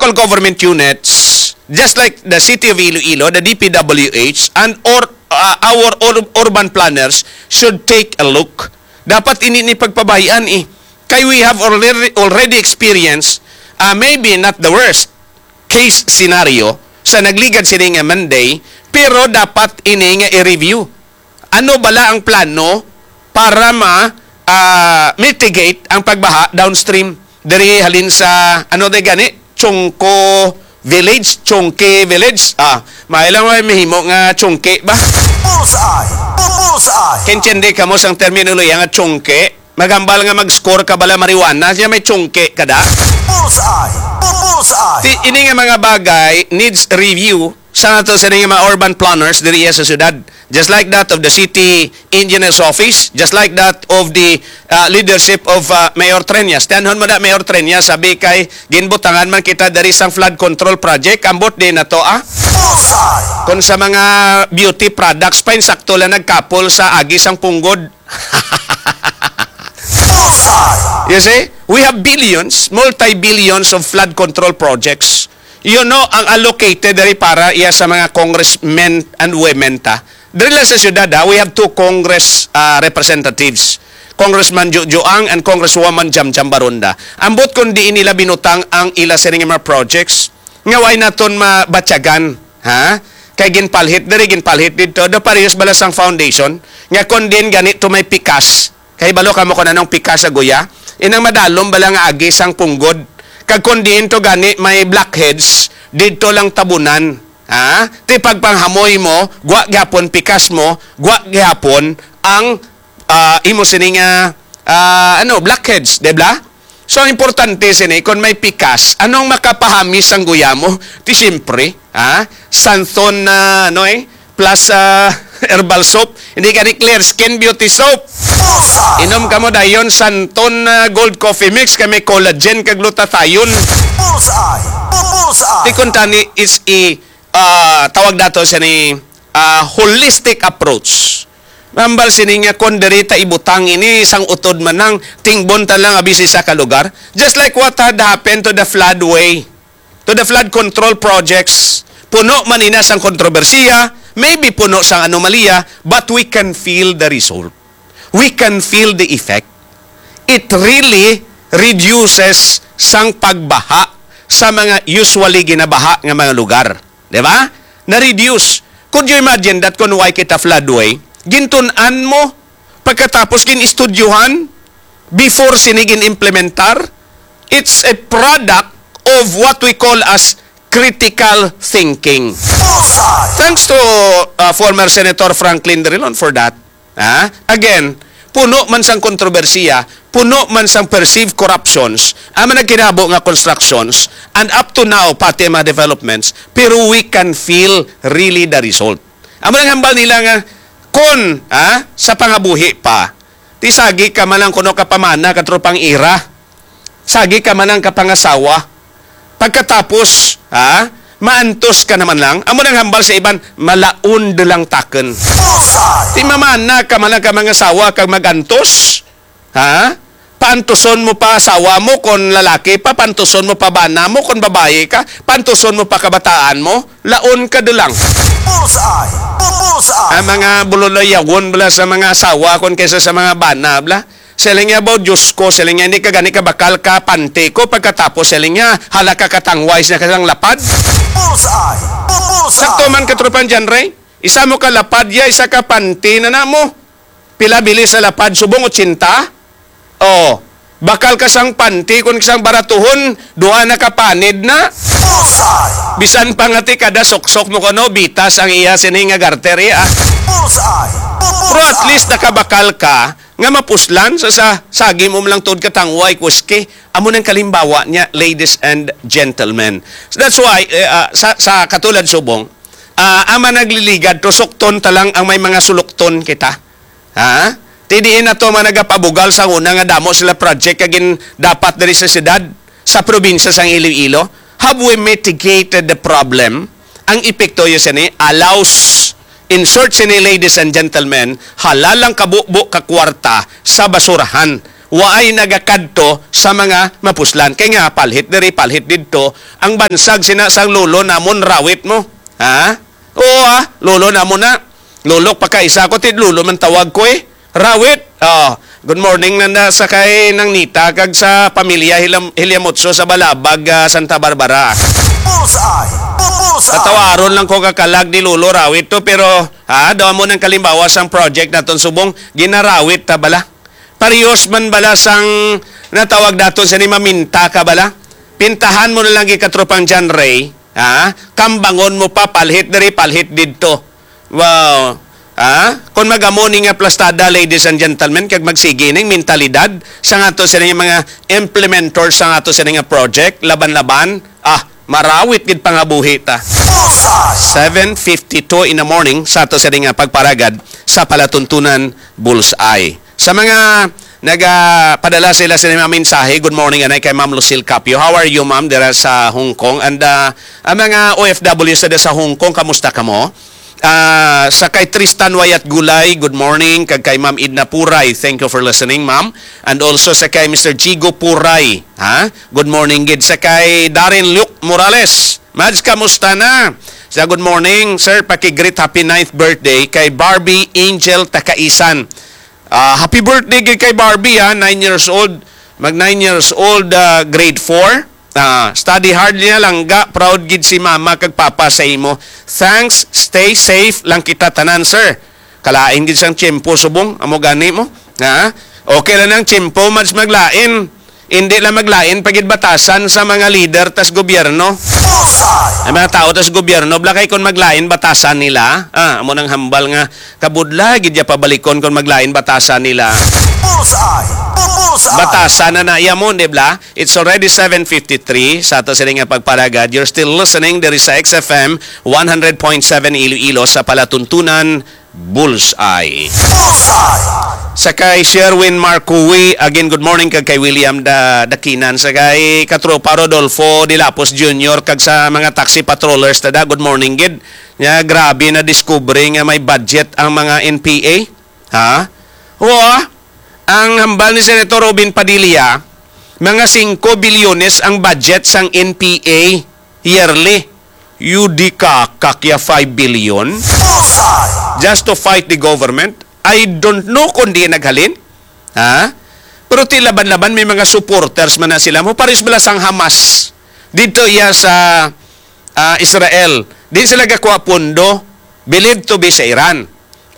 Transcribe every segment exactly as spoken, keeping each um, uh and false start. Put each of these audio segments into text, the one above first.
local government units, just like the City of Iloilo, the D P W H, and or, uh, our ur- urban planners should take a look. Dapat ini ni pagpabahian eh. Kay we have already, already experienced, uh, maybe not the worst case scenario sa nagligad sini nga Monday, pero dapat ini nga i-review. Ano bala ang plano para ma, ah, mitigate ang pagbaha downstream diri halin sa, ano day gani? Chongco Village, Chongke Village. Ah, may lang may mahimo nga Chongke ba? Bullseye! Bullseye! Kintindi ka mo sang terminolohiya nga Chongke? Maghambal nga mag-score ka bala marijuana, siya may Chongke ka da? Bullseye! Bullseye! Ti, ini nga mga bagay needs review sa ato sa mga urban planners diri sa syudad. Just like that of the city engineer's office, just like that of the, uh, leadership of, uh, Mayor Treñas. Tiyanhon mo na, Mayor Treñas, sabi kay ginbutangan man kita diri sang flood control project, ambot din na to, ah. Bullseye! Kung sa mga beauty products pa, insakto lang nagkapol sa agi sang punggod. Bullseye! You see, we have billions, multi-billions of flood control projects. You know, ang allocated diri para iya sa mga congressmen and women ta. Diri lang sa syudad, ha, we have two Congress, ah, representatives. Congressman Jojo Ang and Congresswoman Jam Jam Baronda. Ambot kung diin nila binutang ang ila sining mga projects, nga way naton mabatyagan, ha? Kay ginpalhit diri, ginpalhit didto, do parehas bala sang foundation, nga kung diin gani to may pikas, kay balo ka mo kung anong pikas sa guya, inang madalom bala nga agi sang punggod, kag kung diin to gani may blackheads, didto lang tabunan, ha? Ti pagpanghamoy mo, gwa gyapon pikas mo, gwa gyapon ang, ah, imo sini nga, ah, ano, blackheads, di ba? So, ang importante sini, kung may pikas, anong makapahami sang guya mo? Ti siyempre, ha? Santon na, ano eh, plus, ah, herbal soap. Hindi ka ni clear skin beauty soap. Bullseye! Inom ka mo dayon, Santon na gold coffee mix, kay may collagen kag glutathione. Bullseye! Bullseye! Ti kung tani is i, ah, tawag dato siya ni, ah, holistic approach. Mambal sini nga kon diri ta ibutang ini sang utod man lang tingbon ta lang abi sa isa ka lugar. Just like what had happened to the floodway, to the flood control projects. Puno man ina sang kontrobersiya, maybe puno sang anomalya, but we can feel the result. We can feel the effect. It really reduces sang pagbaha sa mga usually ginabaha nga mga lugar. Di ba? Na-reduce. Could you imagine that kung way kita floodway, gintun-an mo, pagkatapos gin-estudyohan, before sini gin-implementar? It's a product of what we call as critical thinking. Bullseye! Thanks to, uh, former Senator Franklin Drilon for that. Ha? Again, puno man sang kontrobersiya, puno man sang perceived corruptions, ang mga nagkinabo nga constructions, and up to now, pati ang mga developments, pero we can feel really the result. Amo nang hambal nila nga, kon, ha, sa pangabuhi pa, ti sagi ka man lang kuno ka pamana, katropang ira. Sagi ka man ang kapangasawa. Pagkatapos, ha, maantos ka naman lang. Amo nang hambal sa iban, malaon de lang takon. Bullseye! Ti mamana ka man ang kamangasawa kag magantos, ha? Paantuson mo pa asawa mo kon lalaki pa, paantuson mo pa bana mo kon babayi ka, paantuson mo pa kabataan mo, laon ka de lang. Bullseye! Bullseye! Ang mga buloloyawon bala sa mga asawa kon kaysa sa mga bana bala. Siling niya, "Baw, Diyos ko," siling niya, "hindi ka gani kabakal ka panty ko." Pagkatapos, siling niya, "Hala ka katangway sa kasang lapad." Bullseye! Bullseye! Sakto man, katropang John Ray. Isa mo ka lapad ya, isa ka panty na namo. Pila bili sa lapad? Subong otsinta? Oh, bakal ka sang panty, kung sang baratuhon, duha na ka panid na. Bullseye! Bisan pa nga ti kada suksok mo kuno, bitas ang iya sini nga garter, iya. Bullseye! Pero at least nakabakal ka, nga mapuslan sa, sa sagi mo lang tuod ka tangway, kuski. Amo nang kalimbawa niya, ladies and gentlemen. So that's why, eh, ah, sa, sa katulad subong, ah, ang mga nagliligad, to sukton ta lang ang may mga sulukton kita. Ha? Ti diin na to mga nagapabugal sa una nga damo sila project kag gin-, dapat diri sa siyudad, sa probinsya sang Iloilo. Have we mitigated the problem? Ang epekto yo sini, allows, insert sini, ladies and gentlemen, halalang kabubo ka kwarta sa basurahan. waay nagakadto sa mga mapuslan. Kay nga, palhit diri, palhit didto, ang bansag sina sang lolo namon, rawit mo. Ha? Oo, ah, lolo namon na. Lolo, pakaisa ko, ti lolo man tawag ko eh. Rawit. Oh, good morning na, na sa kay Nang Nita kag sa pamilya Hilam-, Hilyamotso sa Balabag, ah, Santa Barbara. Bullseye! Bullseye! Patawaron lang ko kakalag ni Lolo Rawit to, pero, ha, daw mo nang kalimbawa sang project naton subong, ginarawit ta bala. Parehas man bala sang natawag daton sa ni maminta ka bala. Pintahan mo na lang, katropang John Ray, ha? Kambangon mo pa, palhit diri, palhit didto. Wow. Ha? Kung magamo ni nga plastada, ladies and gentlemen, kag magsigi ning mentalidad sa ato sini nga mga implementers sa ato sini nga project, laban-laban, ah, marawit gid pangabuhi ta. Seven fifty-two in the morning sa ato sini nga pagparagad sa palatuntunan Bullseye. Sa mga nagapadala sa ila sini mga mensahe, good morning, anay kay Ma'am Lucille Capio. How are you, ma'am, dira sa Hong Kong? And, ah, ang mga O F Ws na sa Hong Kong, kamusta kamo? Ah, sa kay Tristan Wayat Gulay, good morning. Kag kay Ma'am Edna Puray, thank you for listening, ma'am. And also sa kay Mister Jigo Puray, ha? Good morning gid. Sa kay Darren Luke Morales, Mads, kamusta na? Sa good morning, sir, paki-greet happy ninth birthday kay Barbie Angel Takaisan. Ah, happy birthday gid kay Barbie, ha, nine years old. Mag nine years old, ah, grade four. Ah, study hard niya lang ga, proud gid si mama kag papa sa imo. Thanks, stay safe lang kita tanan, sir. Kalain gid sang tiyempo subong, amo gani mo. Ha? Okay lang ang tiyempo, mas maglain. Hindi lang maglain pa gid batasan sa mga leader tas gobyerno. Ang mga tao tas gobyerno, bala kay kon maglain batasan nila. Ah, amo nang hambal nga kabudlay gid ya pabalikon kon maglain batasan nila. Bullseye! Bullseye! Batasan na na iya mo, di bala? It's already seven fifty-three sa ato sini nga pagparagad. You're still listening diri sa X F M one hundred point seven Iloilo sa palatuntunan Bullseye. Bullseye! Sa kay Sherwin Marcoy, again, good morning kag kay William Da-, Dakinan. Sa kay Katropa Rodolfo Dilapos Junior kag sa mga taxi patrollers tada, good morning gid. Nya, grabe na discovery nga may budget ang mga N P A. Ha? Oo, ah. Ang hambal ni Senator Robin Padilla, mga singko bilyones ang budget sang N P A yearly. Yudi ka, kakya five billion? Bullseye! Just to fight the government? I don't know kung di naghalin. Ha? Pero ti laban-laban, may mga supporters man na sila. Mo paris bala sang Hamas. Dito iya sa, ah, Israel. Di sila gakuha pondo. Believed to be sa Iran.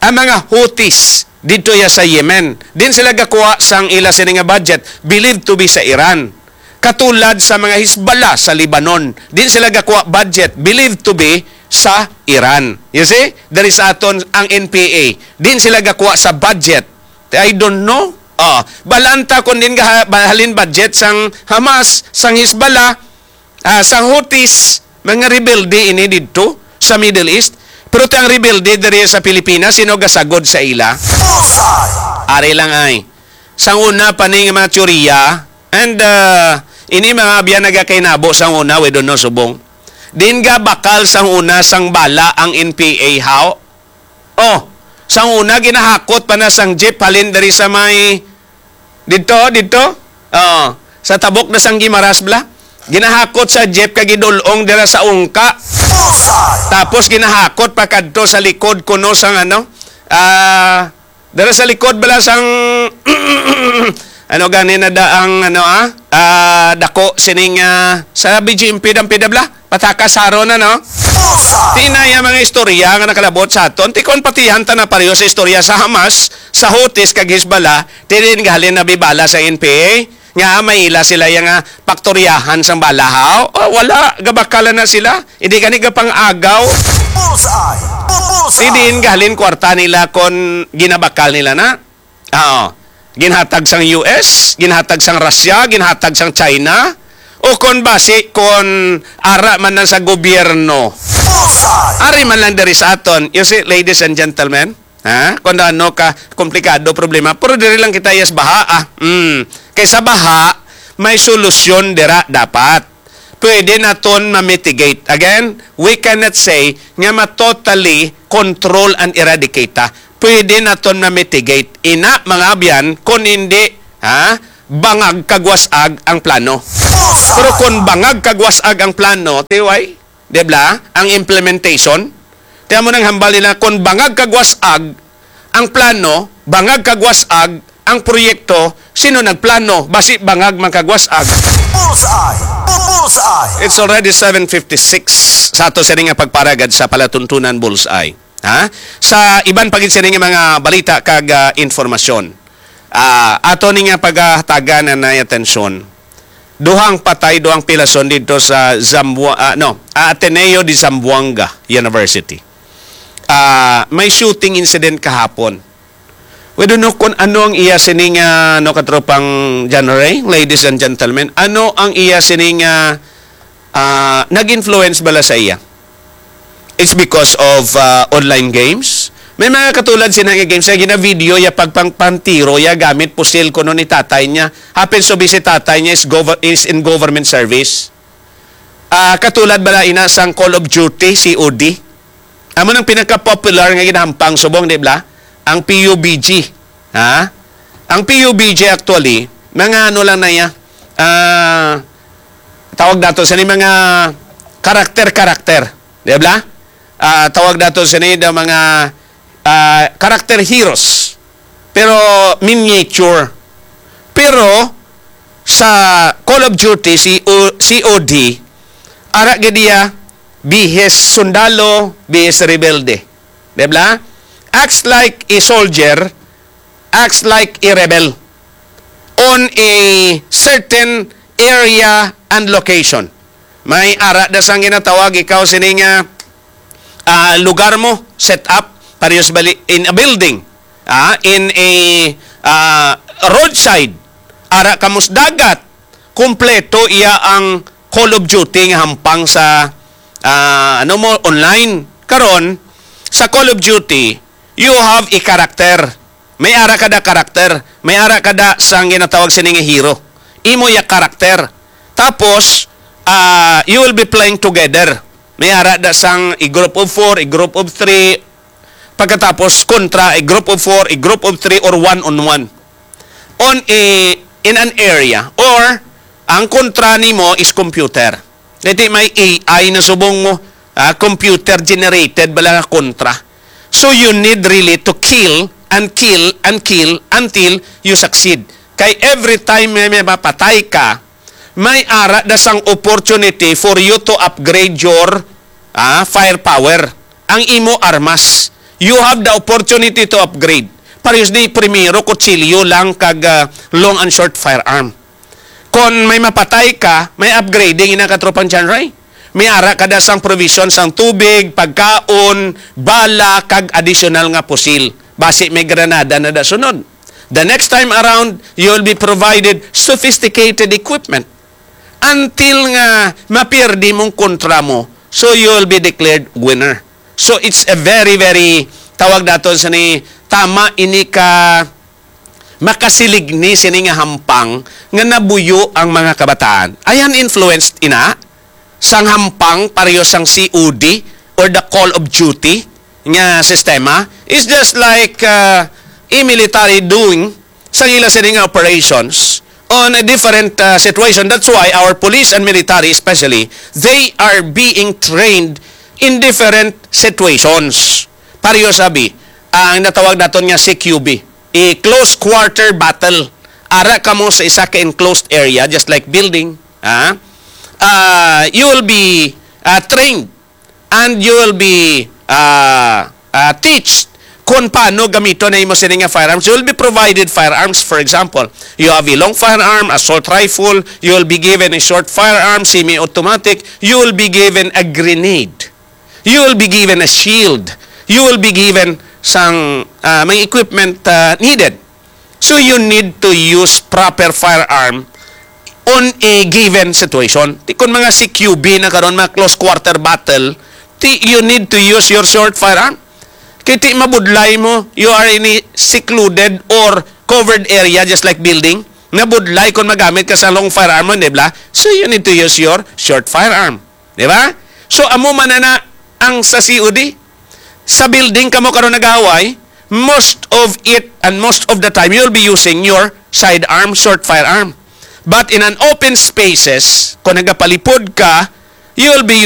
Ang mga Houthis dito ya sa Yemen, din sila gakuha sang ila sini nga budget, believed to be sa Iran. Katulad sa mga Hezbollah sa Lebanon, din sila gakuha budget, believed to be sa Iran. You see? Diri sa aton ang N P A, din sila gakuha sa budget. I don't know. Ah, balanta kung din gaha-, halin budget sang Hamas, sang Hezbollah, ah, sang Houthis, mga rebelde ini didto sa Middle East. Pero ti ang rebelde diri sa Pilipinas, sino gasagod sa ila? Bullseye! Ari lang ay. Sang una pa ning mga teorya, and, ah, ini mga abyan nagakainabo sang una, we don't know, subong. Din ga bakal sang una sang bala ang N P A, how? Oh, sang una ginahakot pa na sang jeep halin diri sa may didto, didto. Oh, sa tabok na sang Guimaras bala. Ginahakot sa jeep kag gidul-ong dira sa ungka. Bullseye! Tapos ginahakot pa kadto sa likod kuno sang ano, ah, dira sa likod bala sang ano gani na da ang ano, ah, ah, dako sining, ah, sa B G M P dam pidabla. Pataka saro na, no? Bullseye! Ti na iya mga istorya nga nakalabot sa aton. Ti kon patihan ta na pareho sa istorya sa Hamas, sa Houthis kag Hezbollah, ti din gahalin na bibala sa N P A nga may ila sila iya nga paktoryahan sang bala, haw? Oh, wala, gabakalan na sila. Hindi gani gapang-agaw. Bullseye! Bullseye! Ti din gahalin kwarta nila kon ginabakal nila na. Oo. Ginhatag sang U S, ginhatag sang Russia, ginhatag sang China, o kon basi kon ara man lang sa gobyerno. Bullseye! Ari man lang diri sa aton. You see, ladies and gentlemen, ha? Kung ano ka komplikado problema, pero diri lang kita, yes, baha, ah. Mm. Kaysa baha, may solusyon dira dapat. Pwede naton ma-mitigate. Again, we cannot say nga ma-totally control and eradicate ta. Pwede naton ma-mitigate. Ina, mga abyan, kung hindi Ha? Bangag kag was-ag ang plano. Pero kung bangag kag was-ag ang plano, T Y, di ba? Ang implementation, kaya mo nang hambal nila, kung bangag kag was-ag ang plano, bangag kag was-ag ang proyekto, sino nagplano? Basi bangag man kag was-ag. Bullseye! Bullseye! It's already seven fifty-six sa ato sini nga pagparagad sa palatuntunan Bullseye. Ha? Sa iban pa gid sini nga mga balita kag, ah, informasyon. Ah, ato ni nga pagahatagan na nay atensyon. Duhang patay, duhang pilason dito sa Zambua-, ah, no, ah, Ateneo de Zamboanga University. Ah, may shooting incident kahapon. We don't know kung ano ang iya sini nga, no, katropang John Ray, ladies and gentlemen. Ano ang iya sini nga, ah, nag-influence bala sa iya? It's because of, ah, online games. May mga katulad sina nga games nga gina-video ya pagpangpantiro ya gamit pusil kuno ni tatay niya. Happen to be si tatay niya is, gover- is in government service. Ah, katulad bala ina sang Call of Duty, C O D. Amo nang pinaka-popular nga ginahampang subong, di ba? Ang P U B G. Ha? Ang P U B G actually, mga ano lang na iya, ah, tawag nato sa ni mga karakter-karakter, di ba? Ah, tawag nato sa ni the mga, ah, character heroes, pero miniature. Pero sa Call of Duty, si O-, C O D, ara gid iya, bihis sundalo, bihis rebelde. Di ba? Acts like a soldier, acts like a rebel on a certain area and location. May ara da sang ginatawag ikaw sini nga, ah, lugar mo, set up, parehas bali in a building, ah, in a, ah, roadside, ara ka mo sa dagat, kompleto iya ang Call of Duty nga hampang sa, ah, ano mo, online. Karon, sa Call of Duty, you have a character. May ara kada karakter. May ara kada sang ginatawag sini nga hero. Imo ya karakter. Tapos, ah, you will be playing together. May ara da sang a group of four, a group of three. Pagkatapos, kontra a group of four, a group of three, or one on one. On a, in an area, or ang kontra nimo is computer. Dati may A I na subong mo, ah, computer generated bala nga kontra. So you need really to kill and kill and kill until you succeed. Kay every time may, may mapatay ka, may ara da sang opportunity for you to upgrade your, ah, firepower. Ang imo armas. You have the opportunity to upgrade. Parehas ni primero, kutsilyo lang kag, ah, long and short firearm. Kon may mapatay ka, may upgrading ina katropang John Ray. May ara ka da sang provision sang tubig, pagkaon, bala, kag additional nga pusil. Basi may granada na da sunod. The next time around, you will be provided sophisticated equipment. Until nga mapirdi mong kontra mo, so you will be declared winner. So it's a very, very, tawag naton sa ni, tama ini ka makasilig ni sini nga hampang nga nabuyo ang mga kabataan. Ayan influenced ina sang hampang pareho sang C O D or the Call of Duty nga sistema is just like, uh, a military doing sang ila sini nga operations on a different, uh, situation. That's why our police and military especially, they are being trained in different situations. Pareho sabi, ang natawag naton nga C Q B, a close quarter battle. Ara ka mo sa isa ka enclosed area, just like building, ha? Ah, you will be, ah, trained and you will be, ah, ah, teach kung paano gamiton na imo sini nga firearms. You will be provided firearms. For example, you have a long firearm, assault rifle, you will be given a short firearm, semi-automatic, you will be given a grenade. You will be given a shield. You will be given sang, ah, may equipment, ah, needed. So you need to use proper firearm on a given situation. Ti kon mga C Q B na karon, mga close quarter battle, ti you need to use your short firearm. Kay ti mabudlay mo, you are in a secluded or covered area just like building. Nabudlay kung magamit ka sa long firearm mo, di ba? So you need to use your short firearm. Di ba? So, amo man na ang sa C O D. Sa building kamo karon nag-aaway, most of it and most of the time, you'll be using your sidearm, short firearm. But in an open spaces, kung nagapalipod ka, you will be